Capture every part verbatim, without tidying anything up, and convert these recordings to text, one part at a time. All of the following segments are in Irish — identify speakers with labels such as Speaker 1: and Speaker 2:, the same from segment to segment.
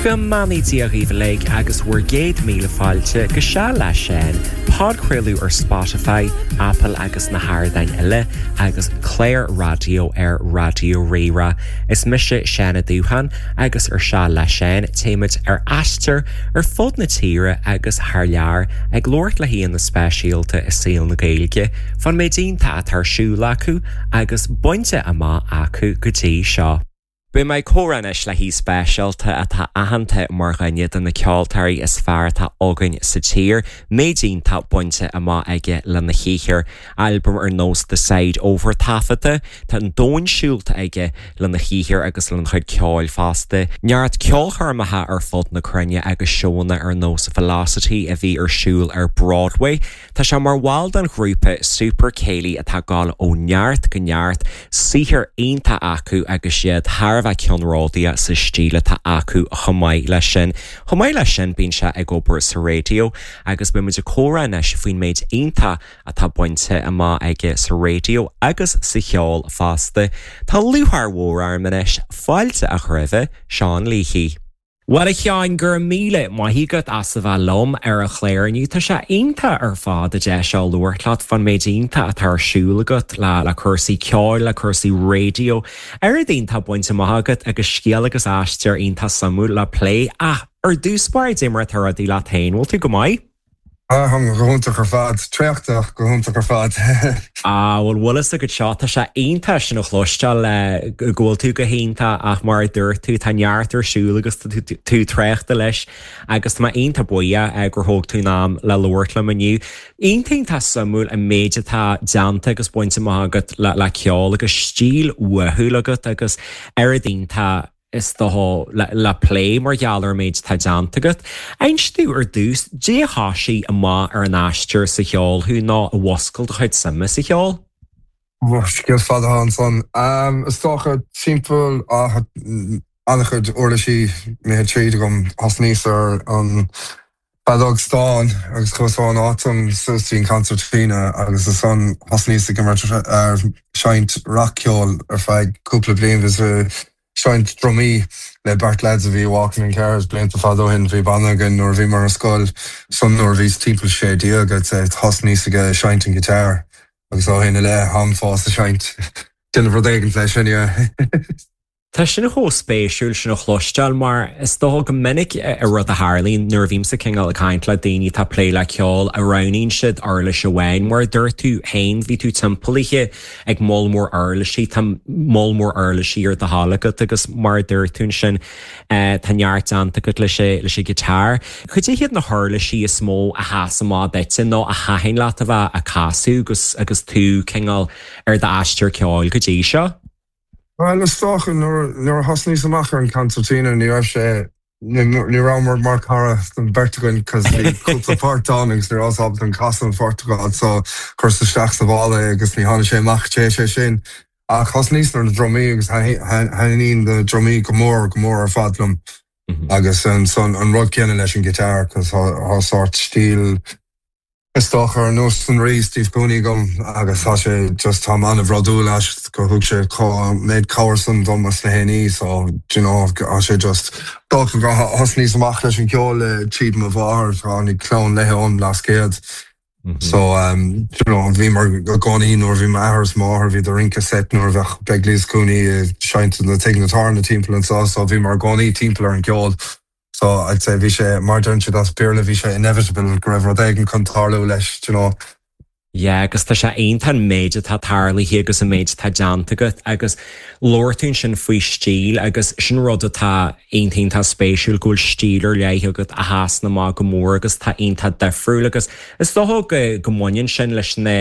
Speaker 1: Go mbeannaí Dia dhaoibh uilig agus bhur gcéad míle fáilte go Seal le Seán, podchraoladh ar Spotify, Apple agus na hardáin eile agus clár raidió ar Raidió Rí-Rá. Is mise Seán Ó Dúcháin agus ar Seal le Seán téimid ar aistear ar fud na tíre agus thar lear ag labhairt le haíonna speisialta i saol na Gaeilge, fán méid iontach atá ar siúl acu agus bainte amach acu go dtí seo. Beidh mé ag comhrá anois le haoi speisialta atá aitheanta mar dhuine de na ceoltóirí is fearr atá againn sa tír, méid iontach bainte amach aige lena shaothar, albam ar nós The Side Over taifeadta, tá an domhan siúlta aige lena shaothar agus lena chuid ceoil fosta. Neart ceolchoirmeacha ar fud na cruinne agus seónna ar nós Velocity a bhí ar siúl ar Broadway. Tá sé mar bhall den ghrúpa Super Céilí atá ag dul ó neart go neart, saothar iontach acu agus iad thar a bheith ceannródaíoch sa stíl atá acu chomh maith leis sin. Chomh maith leis sin bíonn sé ag obair sa raidió agus beimid ag comhrá anois faoin méid iontach atá bainte amach aige sa raidió agus sa cheol fosta. Tá lúcháir mhór orm anois fáilte a chur roimh Seán Leahy. Well a Sheáin go raibh míle maith agat as a bheith liom ar an chlár inniu Tá sé iontach ar fad an deis seo labhairt leat fán méid iontach atá ar siúl agat le le cúrsaí ceoil le cúrsaí raidió. Ar iontach bainte amach agat agus scéal agus aistear iontach suimiúil le plé ach ar dtús báire cad é mar atá rudaí leat féin, bhfuil tú go maith?
Speaker 2: Ah go hiontach ar fad traochta go hiontach ar fad.
Speaker 1: Ah bhfuil bhfuil go seo tá sé iontach sin a chloisteáil le go bhfuil tú go hiontach ach mar a dúirt tú tá neart ar siúl agus tú traochta leis agus tá iontach buíoch gur thóg tú am le labhairt liom inniu. Iontach tá suimiúil an méid atá déanta agus bainte amach agat le le ceol agus stíl uathúil agat agus ar iontach is dócha le, le plé mar gheall ar méid atá déanta agat. Inis domh ar dtús cad é a thosaigh amach ar an aistear sa cheol thú nó a mhúscail do chuid suime sa cheol?
Speaker 2: Scéal fada ansan. Um, is dócha timpeall an-chuid uirlisí imithe tríd agam thosnaíos ar an feadóg stáin agus chuas ón átam suasín concertina agus ansan thosnaíos ag imirt ar seinnt rac-cheol ar feadh cúpla bliain vis seinnt drumaí le beirt lads a bhí walking in cars blianta fada ó shin bhí banna againn nuair bhí mar scoil san nuair bhíos timpeall sé déag thosnaíos ag seinnt an guitar agus ó shin i leith táim fós ag seinnt déanamh rud éigin leis sin.
Speaker 1: Tá sin chomh spéisiúil sin a chloisteáil mar is dócha go minic a rud a tharlaíonn nuair a bhímse cineál ag caint le daoine atá plé le ceol a roghnaíonn siad uirlis amháin mar dúirt tú féin bhí tú timpeallaithe ag moll mór uirlisí tá moll mór uirlisí ar do thoil agat agus mar dúirt tú sin tá neart déanta agat leis leis an guitar. Cad iad na huirlisí is mó a sheas amach duit nó a thaitin leat a bheith ag casadh agus agus tú cineál ar d'aistear ceoil go dtí seo?
Speaker 2: Well is dócha nuair a thosnaíos amach ar an concertina ní raibh sé ní raibh mar cara don bheirt againn cos bhí cúpla port ann agus ní raibh ábalta an casadh an phort so chuireas isteach sa mhála agus ní tháinig sé amach té sé sin. Ach thosnaíos ar na drumaí agus thaitníonn na drumaí go mór go mór ar fad liom. Agus an son an rud céanna leis an guitar cos tá sórt stíl is dócha ar nós an Rí Steve Cooney agam agus tá sé just tá an-bhródúil as go thug sé méid cabhair san dom as na héní so you know tá sé just dócha go thosnaíos amach leis an ceol le tríd mo mháthair tháinig clann léi ón Blascaod. So um, you know, bhí mar gcónaí nuair bhí m'athair is máthair bhí do rince set nuair bheith Begley's Cooney seinnte na tigh na tána timpeall anseo so bhí mar gcónaí timpeall ar an ceol. So I'd say bhí sé mar deireann siad as Béarla bhí sé inevitable go raibh rud éigin chun tarlú leis you know.
Speaker 1: Yeah, agus tá sé iontach an méid atá tarlaithe agus an méid atá déanta agat agus labhair tú sin faoi stíl agus sin rud atá iontach spéisiúil go bhfuil stíl ar leith agat a sheasann amach go mór agus tá iontach difriúil agus is dócha go go mbaineann sin leis na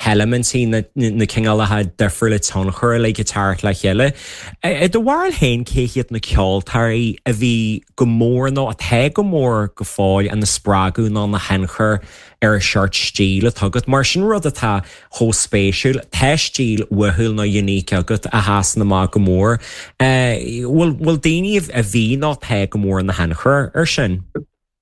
Speaker 1: heilimintí na, na cineálacha difriúla tionchar le teacht le chéile. I do bharúil féin cé hiad na ceoltóirí a bhí go mór nó atá go mór go fóill ina spreagadh nó ina thionchar ar an seort stíl atá agat mar sin rud atá chomh spéisiúil tá stíl uathúil nó unique agat a sheasann amach go mór. Bhfuil bhfuil daoine a bhí nó tá go mór ina thionchar ar sin?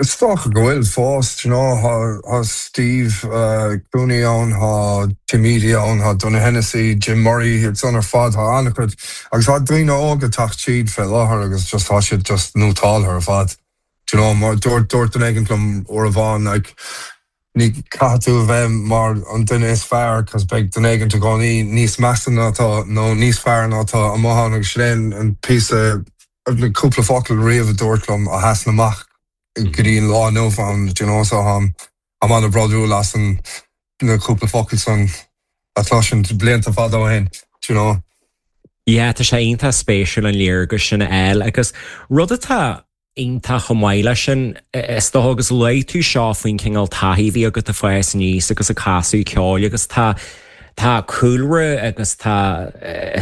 Speaker 2: Is dócha go bhfuil fós you know, tá Steve uh, Cooney ann tá Tim ann tá Donagh Hennessy, Jim Murray san ar fad tá an-chuid agus tá daoine óga ag teacht tríd fé láthair agus just tá siad just nótáil ar fad. You know, mar dúirt dúirt duine éigin liom uair amháin like, ní caithfidh tú bheith mar an duine is fearr cos beidh duine éigin i gcónaí níos measa ná tá nó níos fearr ná tá amach agus sin an píosa cúpla focal riamh a dúirt liom a sheas amach go dtí an lá inniu an you know, so um, am an-bhródúil as an na cúpla focal san atá sin blianta fada ó shin you know.
Speaker 1: Yeah, tá sé iontach spéisiúil an léargas sin eile agus rud atá iontach chomh maith leis sin is dócha agus luaigh tú seo faoin cineál taithí a bhí agat ag fás aníos agus ag casadh ceoil agus tá tá cúlra agus tá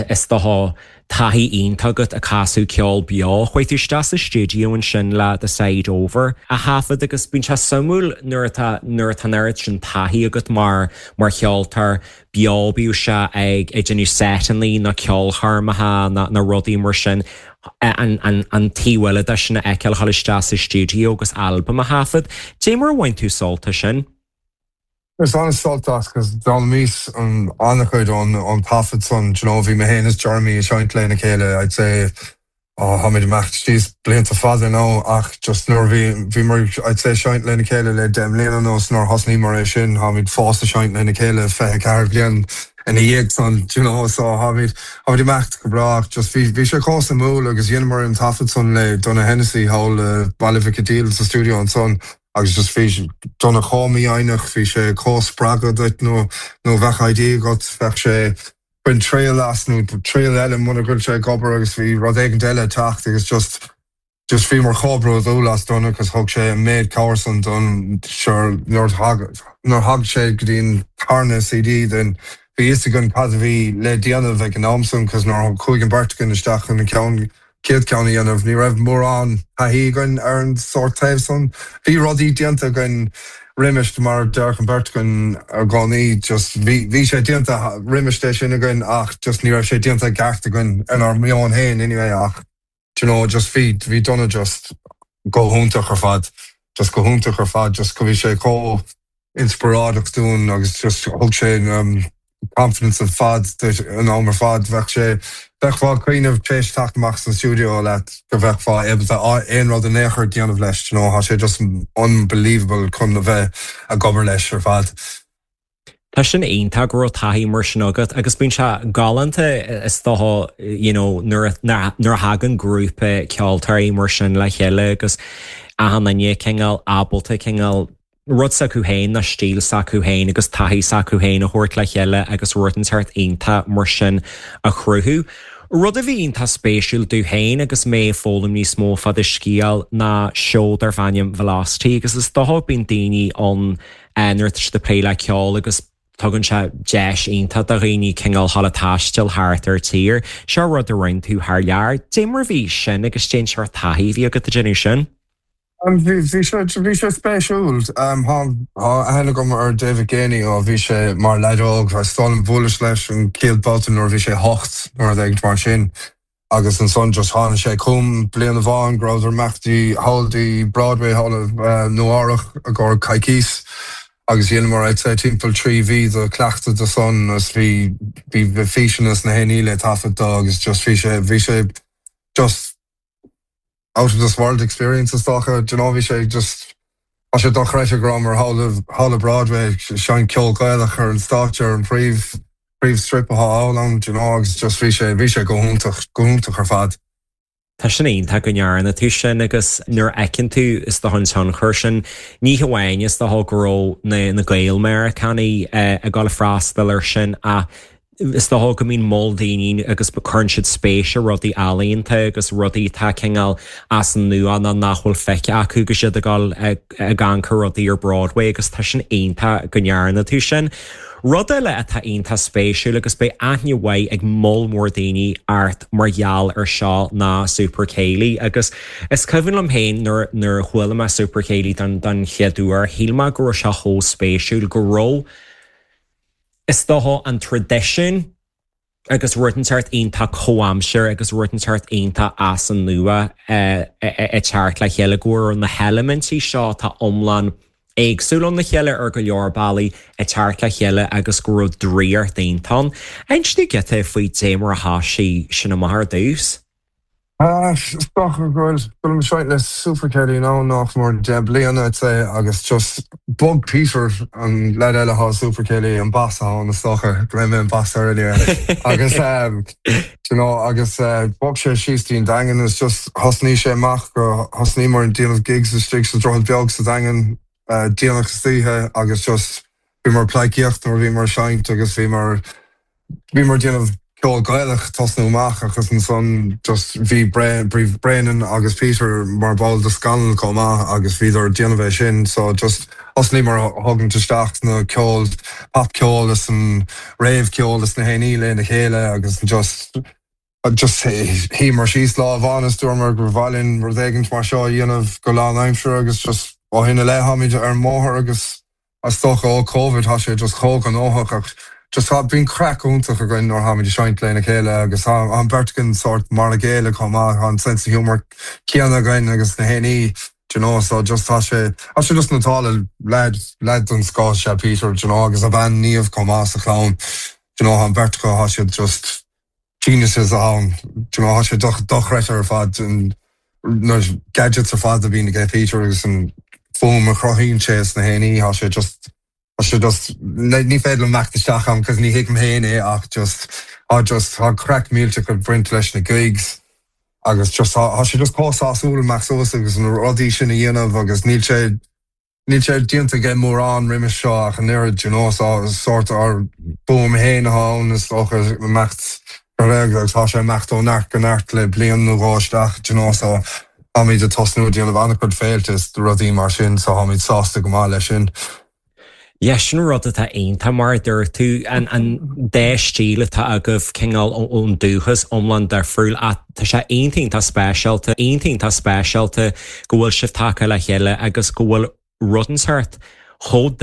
Speaker 1: is dócha taithí iontach agat ag casadh ceol beo chuaigh tú isteach sa stiúideo ansin le The Side Over a thaifead agus bíonn sé suimiúil nuair atá nuair atá an oiread sin taithí agat mar mar cheoltóir beo bíodh sé ag ag déanamh seiteanna nó ceolchoirmeacha na na rudaí mar sin an, an, an taobh eile sin a fheiceáil dul isteach sa stiúideo agus albam a thaifead, Dé mar bhain tú sult as sin?
Speaker 2: Is an-sult as cos d'fhoghlaimíos an an-chuid an an taifead san you know, bhí mé féin is Jeremy ag seinnt lena chéile I'd say oh, tháimid amach síos blianta fada nó ach just nuair bhí bhí mar I'd say seinnt lena chéile le deich mbliana nó nuair thosnaíomar é sin tháimid fós ag seinnt lena chéile fiche ceathair bliain ina dhiaidh san you know, so tháimid tháimid amach go breá just bhí bhí sé chomh suimiúil agus dheineamar an taifead san le Donagh Hennessy thall Baile Mhic Díl sa studio ansan agus just bhí Donagh chomh mífhoighneach bhí sé chomh spreagtha duit nó nó bheadh idea agat bheadh sé bain triail as nó triail eile muna bhfuil sé ag obair agus bhí rud éigin eile teacht agus just just bhí mar chomh bródúil as Donagh agus thug sé an méid cabhair san don sure nuair thag sé go dtí an tarna CD den bhí fhios againn cad a bhí le déanamh ag an am san cos nuair chuaigh an bheirt againn isteach an ceann céad ceann a dhéanamh ní raibh mórán taithí againn ar an sórt taobh san. Bhí rudaí déanta againn roimis mar deir an bheirt againn i gcónaí just bhí sé déanta roimis é sin againn ach just ní raibh sé déanta ceart againn in ár meon féin anyway ach you know, just bhí bhí Donagh just go hiontach ar fad just go hiontach ar fad just go bhí sé chomh inspioráideach dúinn agus just thug sé um, confidence ar fad an am ar fad bheadh sé bheifeá ag cuimhneamh tar éis teacht amach san studio leat go bheifeá ábalta aon rud in aon chor déanamh leis you know, tá sé just unbelievable chun a bheith ag obair leis ar fad.
Speaker 1: Tá sin iontach go raibh taithí mar sin agat agus bíonn sé galánta is dócha you know, nuair nuair a thagann grúpa ceoltóirí mar sin le chéile agus achan duine cineál ábalta cineál rud s'acu féin na stíl s'acu féin agus taithí s'acu féin a thabhairt le chéile agus rud inteacht iontach mar sin a chruthú. Rud a bhí iontach spéisiúil dom féin agus mé ag foghlaim níos mó fá do scéal ná seó darb ainm Velocity agus is dócha bíonn daoine an nuair atá siad ag plé le ceol agus tugann sé deis iontach do dhaoine cineál dul ag taisteal thart ar tír, seo rud a rinne tú thar lear, Dé mar bhí sin agus cén sórt taithí a bhí agat ag déanamh sin.
Speaker 2: Bhí bhí sé spéisiúil Tá aithne agam ar David Geaney ó bhí sé mar leaid óg stán bhuaileas leis an chéad bhabhta nuair bhí sé hocht nuair ag mar sin. agus ansan just tháinig sé chugam bliain amháin go rabhadar ag imeacht thall dtí Broadway thall Nua-Eabhrac i gcomhair coicís agus dheineamar sé timpeall trí mhí de chleachtadh do san is bhí bhí físeanna na héile le taifead dó agus just bhí sé bhí sé just out of this world experience is dócha you know bhí sé just Tá sé dochreidte go rabhamar thall Broadway ag seinnt ceol Gaelach ar an stáitse ar an príomh príomh strip atá ann you know agus just bhí sé bhí sé go hiontach go hiontach ar fad.
Speaker 1: Tá sin iontach go ndearna tú sin agus nuair a fheiceann tú is dócha an tionchar sin ní hamháin is dócha go raibh na na Gael-Mheiriceánaigh ag dul freastal ar sin a is dócha go mbíonn moll daoine agus cuireann siad spéis i rudaí ealaíonta agus rudaí atá cineál as an nua ná nach bhfuil feicthe acu go siad ag dul ag amharc ar rudaí ar Broadway agus tá sin iontach go ndearna tú sin. Rud eile atá iontach spéisiúil agus beidh aithne mhaith ag moll mór daoine ort mar gheall ar seo ná Super Céilí agus is cuimhin liom féin nuair nuair a chuala mé Super Céilí don don chéad uair, shíl mé go raibh sé chomh spéisiúil go raibh is dócha an traidisiún agus rud inteacht iontach comhaimseartha agus rud inteacht iontach as an nua ag teacht le chéile go bhfuil na heilimintí seo tá iomlán éagsúil óna chéile ar go leor bealaí ag teacht le chéile agus go raibh draíocht iontach ann. Inis giota faoi dé mar a thosaigh sin amach ar dtús.
Speaker 2: Is dócha go bhfuil seo le Super Céilí ná nach mór deich bliana agus just bhog Peter an leaid eile atá Super Céilí an bass an is dócha go mé an bass ar agus um, you know, agus uh, bhog sé síos dtí'n Daingean is just thosnaigh sé amach go thosnaíomar ag déanamh gigs istigh sa Droichead Beag sa Daingean uh, déanach istoíche agus just bhí mar pleidhcíocht nuair bhí mar seinnt agus bhí mar bhí mar déanamh ceol Gaelach tosnú amach agus ansan just bhí Brennan agus Peter mar ball de Scannal chomh maith agus bhíodar déanamh é sin so just thosnaíomar thugann isteach na ceol popcheol is an réamhcheol is na héní le na chéile agus just just shuíomar síos lá amháin is dúramar gur mhaith linn rud éigin mar seo dhéanamh go lánaimseartha agus just ó shin i leith táimid ar an mbóthar agus as dócha ó COVID tá sé just chomh gnóthach ach just tá bíonn craic iontach againn nuair táimid ag seinnt lena chéile agus an bheirt againn sort mar a chéile chomh maith an sense of humor céanna againn agus na héní you know so just tá sé tá sé just natála leaid leaid don scoth sé Peter you know agus a bhean Niamh chomh maith sa chlann you know an bheirt acu tá siad just geniuses ann you know tá sé dochreidte ar fad an na gadgets ar fad a bhíonn ag Peter agus an fuaim a chruthaíonn sé is na héní tá sé just Tá sé just ní féidir imeacht isteach am cos ní thuigim féin é ach just á just tá craic millteach ag baint leis na gigs agus just tá sé just chomh sásúil amach suas agus na rudaí sin a dhéanamh agus níl sé níl sé déanta aige mórán roimhe seo ach an oiread you know sort ár bhfuaim féin ann is dócha imeacht agus tá sé imeacht ó neart go neart le bliain nó dhó isteach you know so táimid ag tosnú déanamh an-chuid féilte is rudaí mar sin so táimid sásta go maith leis sin.
Speaker 1: Ja sin rud atá iontach mar dúirt tú an an dá stíl atá agaibh cineál ón dúchas iomlán difriúil tá sé iontach speisialta iontach speisialta go bhfuil sibh tagtha le chéile agus go bhfuil rud inteacht chomh